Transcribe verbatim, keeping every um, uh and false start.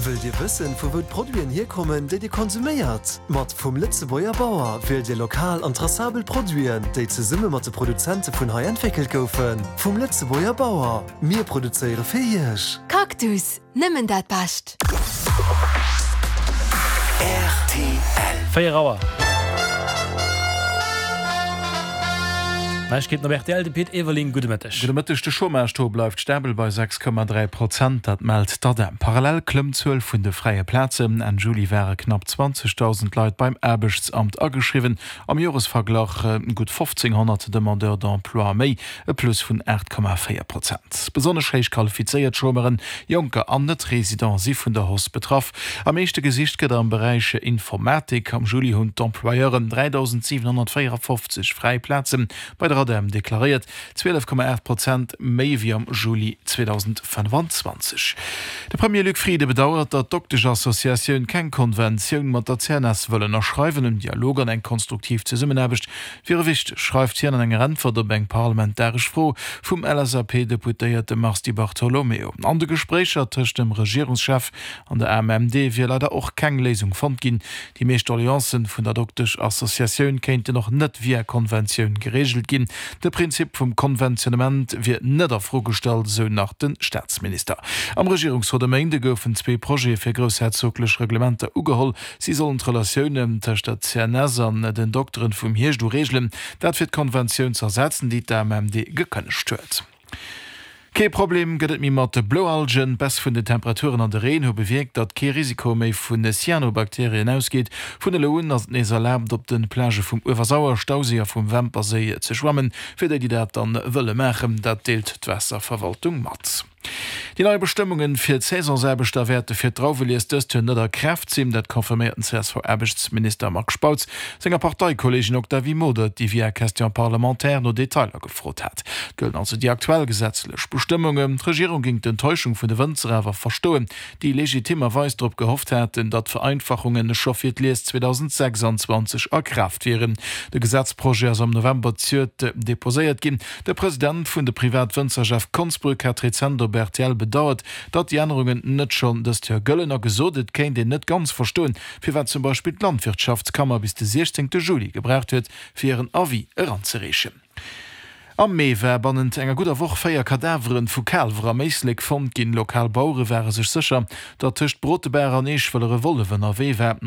Wëllt Dir wëssen, vu wou d'Produiten hierkommen, déi Dir konsuméiert? Mat Vum Lëtzebuerger Bauer wielt Dir lokal an tracabel Produiten, déi zesumme mat de Produzente vun hei entwéckelt goufen. Vum Lëtzebuerger Bauer. Mir produzéiere fir Iech. Cactus, nëmmen dat Bescht. Véier Auer. Neiegkeeten op rtl, de Pit Everling, gudde Mëtteg. Gudde Mëtteg. De Chômage-Taux bleift stabel bei sechs Komma dräi Prozent, dat mellt d'ADEM. Parallel klëmmt d'Zuel vun de fräie Plazen. Enn Juli ware knapp zwanzegdausend Leit beim Aarbechtsamt ageschriwwen, am Joresverglach gutt fofzénghonnert Demandeurs d'emploi méi, e Plus vun aacht Komma véier Prozent. Besonnesch héich qualifizéiert Chômeuren, Jonker an Net-Residente si vun der Hausse betraff. Am meeschte gesicht gëtt am Beräich Informatik. Am Juli hunn d'Employeuren dräidausendsiwenhonnertvéierafofzeg fräi Plaze bei der ADEM deklaréiert, zwielef Komma aacht Prozent méi wéi am Juli zweedausendfënnfanzwanzeg. De Premier Luc Frieden bedauert, datt d'Dokteschassociatioun keng Konventioun mat der C N S wëll ënnerschreiwen. En Dialog an eng konstruktiv Zesummenaarbecht wiere wichteg, schreift hien an enger Äntwert op eng parlamentaresch Fro vum L S A P-Deputéierte Mars Di Bartolomeo. An de Gespréicher tëscht dem Regierungschef an der A M M D wier leider och keng Léisung fonnt ginn. Déi meescht Doleancen vun der Doktesch-Associatioun kéinten och net via Konventioun gereegelt ginn. De Prinzip vum Konventionnement wier net a Fro gestallt, esou nach de Staatsminister. Am Regierungsrot e Méinde goufen zwee Projete fir groussherzoglech Reglementer ugeholl. Si sollen d'Relatiounen tëscht der C N S an den Dokteren vum Hierscht u reegelen. Dat fir d'Konventioun z'ersetzen, déi d'A M M D gekënnegt huet. Kee Problem gëtt et méi mat de Bloalgen. D'Baisse vun den Temperaturen an de Reen hu bewierkt, datt kee Risiko méi vu Cyanobakterien ausgeet. Vun elo un ass et nees erlaabt, op de Plagë vum Uewersauer Stauséi a vum Wämperséi ze schwammen, fir déi, déi dat dann wëlle maachen. Dat deelt d'Waasserverwaltung mat. Déi nei Bestëmmunge fir d'Saisonsaarbechter wäerte fir d'Drauwelies dëst Joer net a Kraaft sinn. Dat confirméiert den C S V-Aarbechtsminister Marc Spautz senger Parteikolleegin Octavie Modert, déi via Question parlementaire no Detailer gefrot hat. Et gëllen also déi aktuell gesetzlech Bestëmmungen. D'Regierung géing d'Enttäuschung vun de Wënzer awer verstoen, déi legitimerweis drop gehofft haten, datt d'Vereinfachunge scho fir d'Lies zweedausendsechsanzwanzeg a Kraaft wieren. De Gesetzprojet ass am November zejoert deposéiert ginn. De President vun de Privatwënzer Jeff Konsbrück hat rezent op R T L bedauert, datt déi Ännerungen net schonn dëst Joer gëllen a gesot, et kéint een net ganz verstoen, firwat zum Beispill d'Landwirtschaftskammer bis de siechzéngte Juli gebraucht huet, fir hiren Avis eranzereechen. Am Mee war bannent enger gudder Woch véier Kadaveren vu Kaalwer am Éislek fonnt ginn. Lokal Bauere ware sech sécher, datt tëscht Brotebaach an Eeschwëller e Wollef ënnerwee war.